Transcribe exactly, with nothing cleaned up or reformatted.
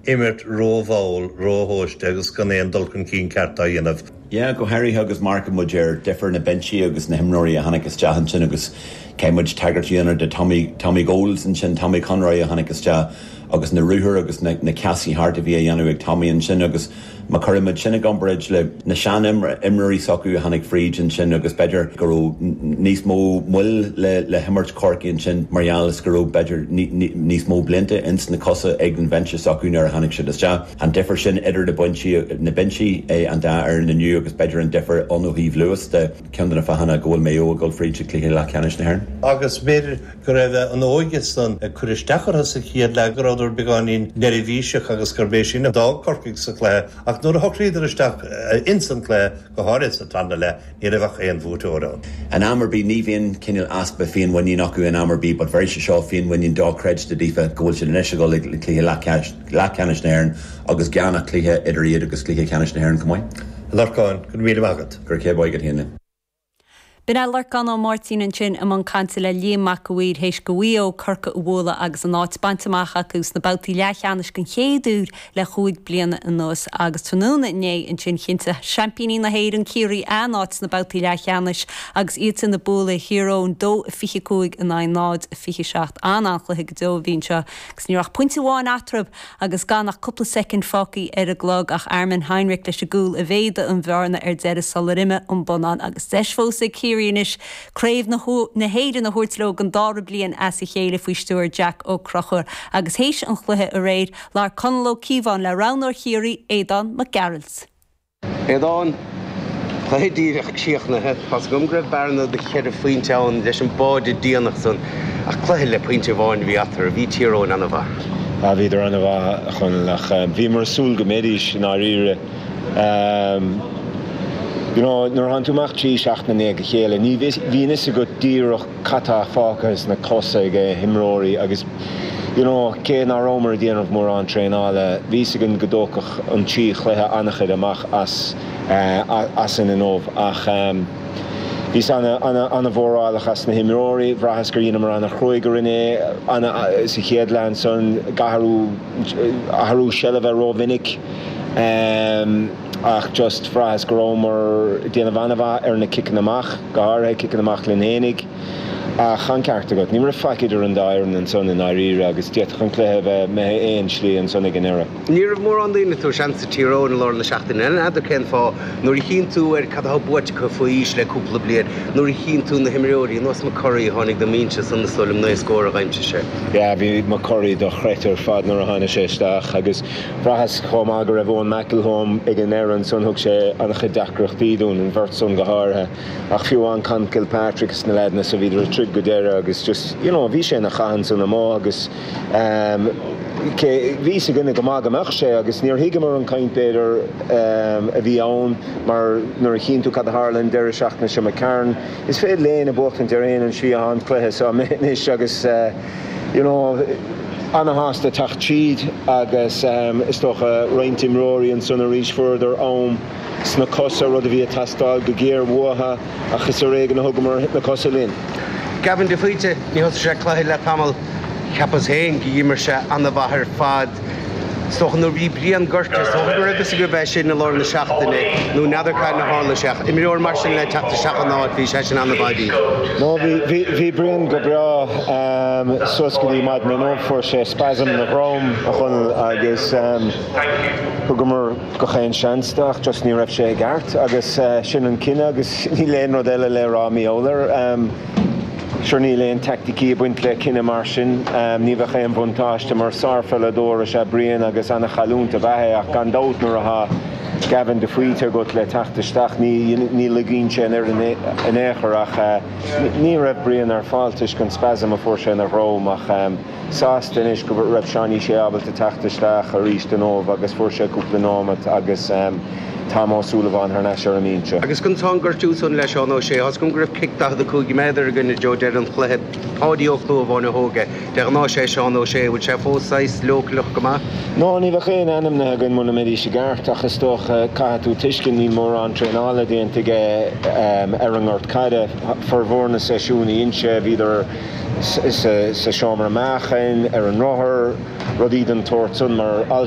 imirt rómhall, róthomhaiste agus gan aon dul chun cinn ceart á dhéanamh. Ja, go háirithe agus má amharcann muid ar difear na binsí agus na himreoirí a tháinig isteach ansin agus caithfidh muid tagairt a dhéanamh de Tommy Tommy Goals ansin Tommy Conroy a tháinig isteach agus na ruathair agus na, na ceasaí thart a bhí á dhéanamh ag Tommy ansin agus má chuirimid sin i gcomparáid le na sean-imreoirí s'acu a tháinig fríd ansin agus b'fhéidir go raibh níos mó moill le le himirt Corcaigh ansin mar gheall is go raibh b'fhéidir níos mó blianta ins na cosa ag an bhinse s'acu nuair a tháinig siad isteach. An difear sin idir na binsí na binsí é an dá fhoireann inniu agus b'fhéidir an difear ann ó thaobh luas de ceann de na fáthanna go bhfuil Maigh Eo ag dul fríd sa cluiche leathcheannais na hÉireann. Agus b'fhéidir go raibh an óige san ag cur isteach orthu sa chéad leath go rabhadar beagáinín neirbhíseach agus gurb é sin a d'fhág Corcaigh sa chluiche ach nuair a shocraíodar isteach ins an cluiche go háirithe sa tarna leath ní raibh ach aon bhuaiteoir ann. An am ar bith ní bhíonn cineál easpa féinmhuinín acu in am ar bith, but bheir sé seo féinmhuinín dochreidte daofa go bhfuil siad anois ag dul le cluiche leathcheannais na hÉireann agus gan ach cluiche idir iad agus cluiche ceannais na hÉireann chomh maith. Lorcán go raibh míle maith agat. Gur cé go héine. B'in é Lorcán Ó Máirtín ansin i mbun cainte le Liam Mac a' Mhaoir théis do Mhaigh Eo Corcaigh a bhualadh agus an áit bainte amach acu sna babhtaí leathcheannais den chéad uair le cúig bliana anuas agus tráthnóna inné ansin chinntigh seaimpíní na hÉireann Ciarraí a n-áit sna babhtaí leathcheannais agus iad sin ag bualadh Thír Eoghain dó a fiche cúig in aghaidh náid a fiche seacht an an-chluiche go deo a bhí anseo agus ní raibh pointe amháin eatarthu agus gan ach cúpla soicind fágtha ar an gclog ach Armin Heinrich leis an gcúl a mhéadaigh an bhearna ar deireadh sular imigh an bonnán agus deis fós ag Ciarraí anois craobh na na hÉireann a thabhairt leo den dara bliain as a chéile faoi stiúir Jack Ó Conchúir agus théis an chluiche aréir labhair Conall Ó Cíobháin le roghnóir Chiarraí Aodán Mac Gearailt. Aodán Cluiche díreach críochnaithe Tá gom go raibh bearna de cheithre phointe ann leis an báide déanach san ach cluiche le pointe amháin bhí eatarthu bhí Tír Eoghain an-mhaith. A bhíodar an-mhaith chun ach bhíomar ag súil go mbeidís i ndáiríre. You know, nuair atá tú amach trí seachtaine i ndiaidh a chéile, ní bhíonn a fhios agat díreach cad tá fágtha sna cosa ag imreoirí agus you know, cé nach rabhamar ag déanamh mórán traenála, bhí a fhios againn go dtógfadh an trí chluiche an-chuid amach as uh, as in inniu ach um, Bhí an-mhórálach as na himreoirí, bhraitheas gur dheineamar an-chruaidh orainn é sa chéad leath san ag athrú athrú seilbhe rómhinic. Um, ach just bhraitheas go rabhamar ag déanamh an-mhaith ar na ciceanna amach, go háirithe ciceanna amach linn fhéinig. Ach an ceart agat, ní raibh faic idir an dá fhoireann ansan i ndáiríre agus d'fhéadfadh an cluiche bheith imithe aon slí ansan ag an ndeireadh. Ní raibh mórán daoine ag tabhairt seans do Thír Eoghain i lár na seachtaine n'fheadar cén fáth nuair a chíonn tú ar cad atá buaite acu faoi aois le cúpla bliain, nuair a chíonn tú na himreoirí nós McCurry tháinig don mbinse san is dóigh liom naoi scór a d'aimsigh sé. Ja, bhí McCurry dochreidte ar fad nuair a tháinig sé isteach agus bhraitheas chomh maith go raibh Eoin McElholm ag an ndeireadh ansan thug sé an-chuid deacrachtaí dúinn an bheirt san go háirithe ach fiú an Con Kilpatrick is na leaideanna so bhíodar ag troid go deireadh agus just you know, bhí sé ina chath ansan amuigh agus um, bhí a fhios againne go maith go mbeadh sé agus níor thuigeamar an caint b'fhéidir um, a bhí ann mar nuair a chíonn tú cad a tharla an deireadh seachtaine seo McCarron. Is féidir le éinne buachtaint ar aon an slí an cluiche so anois agus uh, you know, an-shásta teacht tríd agus um, is dócha roinnt imreoirí ansan arís fuaireadar am sna cosa rud a bhí ag teastáil go géar uathu ach is ar éigean a thugamar na cosa linn. Gavin de Faoite ní thosaigh sé cluiche le tamall cheapas féin gur imir sé an-mhaith ar fad. Stocha nuair bhí Brian gortaithe so go raibh go bheith sin i lár na seachtaine nó n'fheadar cad a tharla sé imreoir mar sin le teacht isteach an áit bhí sé sin an-mhaith. No bhí bhí Brian go breá um, suas go dtí maidin inniu fuair sé spasm ina dhroim a chun agus um, thugamar gach aon seans dó ach just ní raibh sé i gceart agus uh, sin an cinneadh agus níl aon rud eile le rá míolair. Um, Sure níl aon teaicticí ag baint le cinneadh mar sin um, ní bheadh aon bhuntáiste mar sárpheileadóir is ea Brian agus an-chailliúint ab ea é ach gan dabht nuair atá Gavin de Faoite agat le teacht isteach ní ní ligeann sé ar in aon chor ach uh, ní raibh Brian ar fáil toisc an spasm a fuair sé ina dhroim ach um, sásta anois go raibh Seánie sé ábalta teacht isteach arís inniu agus fuair sé cúpla nóiméad agus um, Tá Ó Súilleabháin thar n-ais ar an mbinse. Agus chun tá gortú san leis Seán Ó Sé Tá go raibh cic daichead a cúig méadar againn Joe deireadh an chluiche Páidí Ó Clúmháin a thóg é de ghnáth sé Seán Ó Sé bhfuil sé fós leochaileach go maith? No ní bheadh aon ainmnithe againn muna mbeidís i gceart ach is dócha caithfidh tú tuiscint níl mórán traenála déanta aige um, ar an ngort caide formhór na seisiún inse bhíodar sa seomra meáchain ar an rothar rudaí den tsórt san mar alt